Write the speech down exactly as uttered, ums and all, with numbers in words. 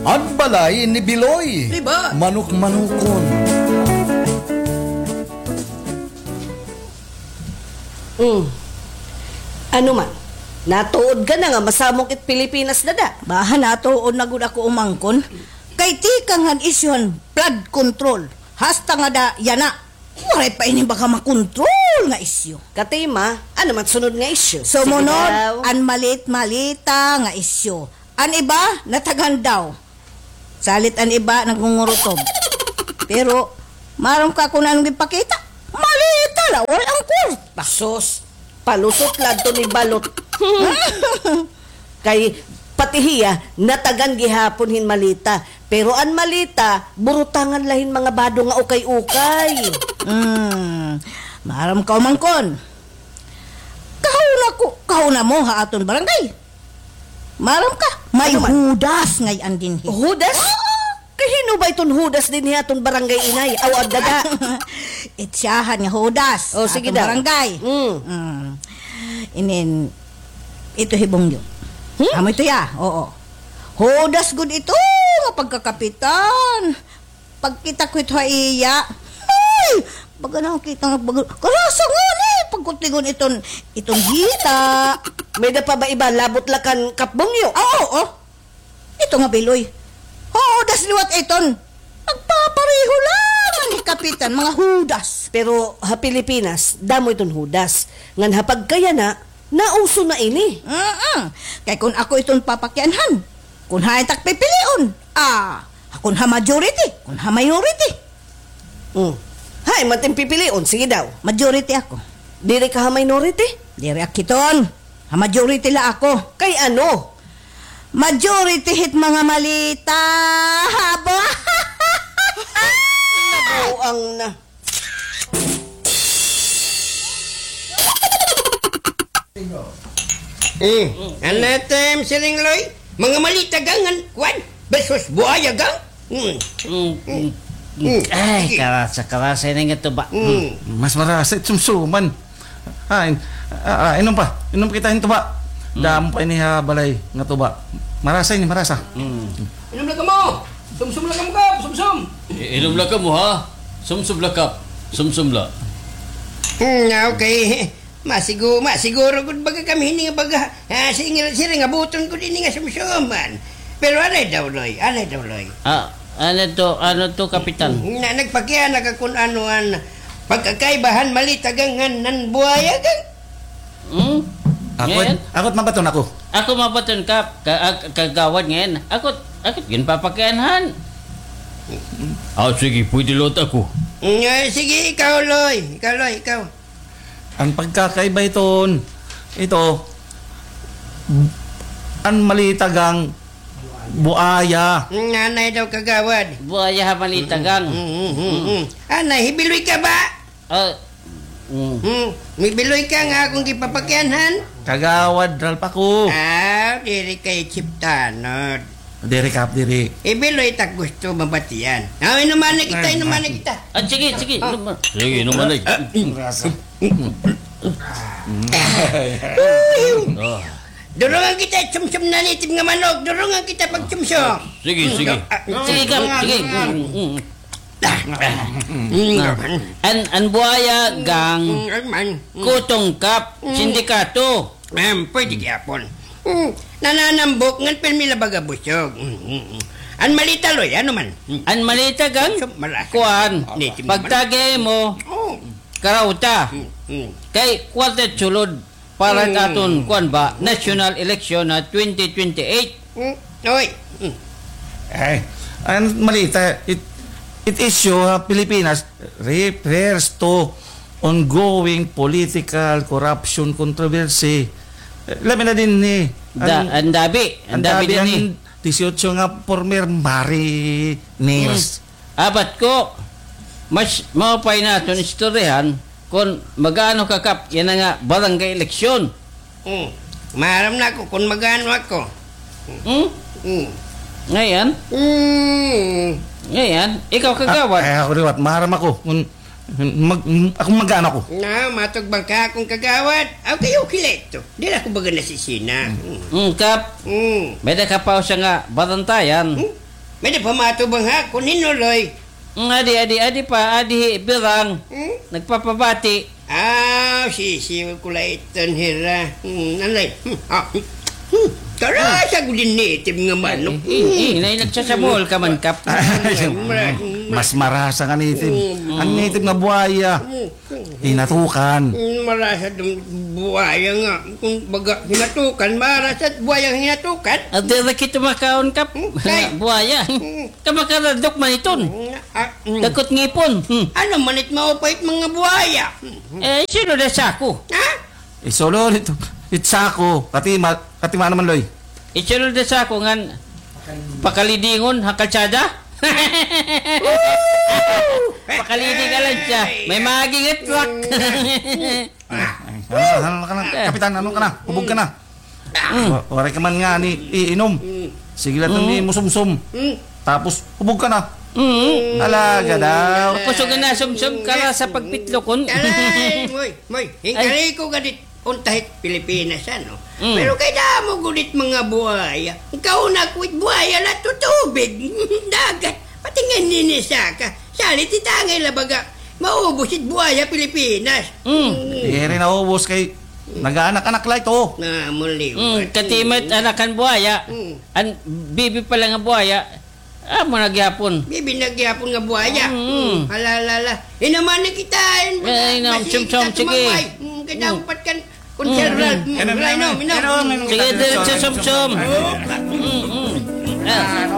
An balay ni Biloy. Di ba? Manok-manokon. Mm. Ano man? Natuod ka na nga masamok it Pilipinas, dada? Baha natuod na gud ako, umangkon. Kay tikang han isyu han flood control. Hasta ngada yana. Waray pa ini baga makontrol nga isyu. Katima, ano man sunod nga isyu? Sumunod, sige daw, an malit-malita nga isyu. An iba, natagan daw. Salit an iba, nagngungurutob. Pero, maaram ka kon ano an ginpakita? Malita la, waray an kwarta. Sus, palusot la adto ni balot. Kay pati hiya, natagan gihapon hin malita. Pero an malita, burutangan la hin mga bado nga ukay-ukay. Hmm, maaram ka, umangkon. Kahuna ko, kahuna mo ha aton barangay. Maaram ka, may, ano man, Judas ngay-an dinhi. Judas? Oo. Kay hin-o ba iton Judas dinhi ha aton barangay, inay? Aw, agdada. It siyahan nga Judas. O, sige daw. Aton barangay. Mm. Mm. Inin, ito hi Bongyo. Hmm? Amo ito ya, oo. Judas gud ito nga pagkakapitan. Pagkita ko ito ha iya. Ay! Baga nakita nga baga. Karasa nga ni. Pagkutligon iton, iton hita. May-ada pa ba iba? Labot la kan Kap Bongyo. Oo, oo. Ito nga Biloy. Judas liwat iton. Nagpapareho la an hikapitan, mga Judas. Pero ha Pilipinas, damo iton Judas. Ngan ha pagkayana, nauso na ini. Mm-mm. Kay kon ako iton papakianhan, kon hain tak pipilion, ah, kon ha majority, kon ha minority. Mm. Hain man it im pipilion, sige daw. Majority ako. Diri ka ha minority? Diri ak hiton. Ha majority la ako. Kay ano? Majority hit mga malita. Haba. Nabuang na. Mm. Ano ito, Em Siling Loy? Mga malita gang, an, kwan? Besos buaya gang? Mm. Mm, mm, mm. Mm. Ay, sige. Karasa, karasa ini nga tuba. Mm. Mm. Mas marasa it sumsuman. Ah, in-, ah, ah, inom pa. Inom kita hin tuba. Mm. Damo pa ini ha balay nga tuba. Marasa ini, marasa. Mm. Inom la kamo. Sumsum la kamo, Kap. Sumsum. I-, inom la kamo, ha? Sumsum la, Kap. Sumsum la. Mm, okay. Masigu-, masiguro gud baga kami hini nga baga, ah, singil, siring nga buton gud ini nga sumsuman. Pero anay daw, Loy, anay daw, Loy. Ah, ano to, ano to, Kapitan? Na, nagpakiana ka kun ano an pagkakaiba han malita gang ngan buaya gang. Hmm? Akot, ngayon? Akot mabaton ako. Ako mabaton ka, ka, ah, kagawad ngayon. Akot, akot ginpapakianhan. Ah, sige, pwede lot ako. Mm, eh, sige, ikaw, Loy. Ikaw, Loy, ikaw. An pagkakaiba iton, ito, an malita gang buaya. Mm, anay daw, kagawad. Buaya ha malita gang. Mm, mm, mm, mm. Anay, hi Biloy ka ba? Ah, mm. Hmm, hi Biloy ka nga akon gipapakianhan? Kagawad Ralph ako. Ah, diri kay Chip Tanod. Diri, Kap, diri. Hi Biloy tak gusto mabatian. Ah, inuman na kita, inuman na kita. Ah, sige, sige. Ah. Inuman. Sige, inuman na. Ah. Durungan kita, sumsum na native nga manok. Durungan kita pag sumsum. Sige, sige. Ah, ah. Sige, Kap, sige. Mm, mm. Ah. An, an buaya gang, mm, ay man, mm, kutong, Kap, mm, sindikato. Em, pwede gihapon. Mm, nananambok ngan pirmi la baga busog. Mm, mm, mm. An malita, Loy, ano man? Mm. An malita gang, so, malasa. Kuan, native naman. Pagtagi mo, oh, karauta. Mm, mm. Kay kwarta sulod. Para, mm, katon, kuan ba, national election ha twenty twenty-eight. Mm, oy. Mm. Ay, an malita, it, it issue ha Pilipinas refers to ongoing political corruption controversy. Eh, labi na dinhi, da-, an, an dabi, an dabi dinhi. An diyesiotso nga former mariners. Mm. Abat ko, mas maupay naton istoryahan kon mag-aano ka, Kap, yana nga barangay eleksyon. Hmm. Maaram na ako kon mag-aano ako. Hmm? Hmm. Ngayan? Hmm. Ngayan, ikaw, kagawad. Ah, ay, ako liwat, maaram ako. Kon mag-, ako mag-aano ako. Na, matugban ka akon kagawad. Okay, okay la ito. Diri ako baga nasisina. Hmm. Hmm, Kap. Hmm. May-ada ka pa usa nga barantayan. Hmm? May-ada pa matubang ha, kun hin-o, Loy? Mm, adi, adi, adi pa, adi hi Birang. Hmm? Nagpapabati. Ah, sisiw ko la iton hira. Hmm, anay. Hmm, ah, hmm. Tara, sa gud hin native nga manok. Eh, eh, eh, nay, nagsasamol ka man, Kap. Mas marasa nga native. Hmm. An native nga buaya. Hmm. Hinatukan. Hmm, marasa dun buaya nga. Kun baga hinatukan, marasa buaya hinatukan. At diri kita makaon, Kap. Hmm, kay? Buaya. Hmm. Kamakaradok man iton. Hmm, ah, hmm. Dakot ngipon. Hmm. Ano man it maupay it mga buaya? Hmm. Eh, sino da sako? Ha? Isolo nito. It sako. Katima, katima naman, Loy. Isunod na sa ako ngan pakalidingon ha kalsada. Pakaliding ka lang siya. May maging truck. Ay, ano, ano ka na, Kapitan? Ano ka na? Hubog ka na. Wa-, waray ka man nga ni iinom. Sige lang ni musumsum. Tapos, hubog ka na. Talaga daw. Kusog na sumsum ka ra sa pagpitlokon. Aray, moy, moy, hingkari ko gadit. Unta hit Pilipinas, ano? Mm. Pero kay damo gud it mga buaya. Kauna ko it buaya la to tubig, dagat. Pati nga ninisaka. Salit it angay la baga maubos it buaya Pilipinas. Mm. Mm. Diri naubos kay nag-aanak-anak la ito. Na, maliwat. Mm, katima it anak han buaya. Mm. An bibi pa la nga buaya. Amo na gihapon. Bibi na gihapon nga buaya. Mm. Mm. Hala, hala, hala. Inuman na kita. Ay, inom, sumsum, sige. Mm, kay dapat kan, kun Sir Ralph. Mm, inom, inom. Sige, diretso, sumsum. Mm, mm. Ah.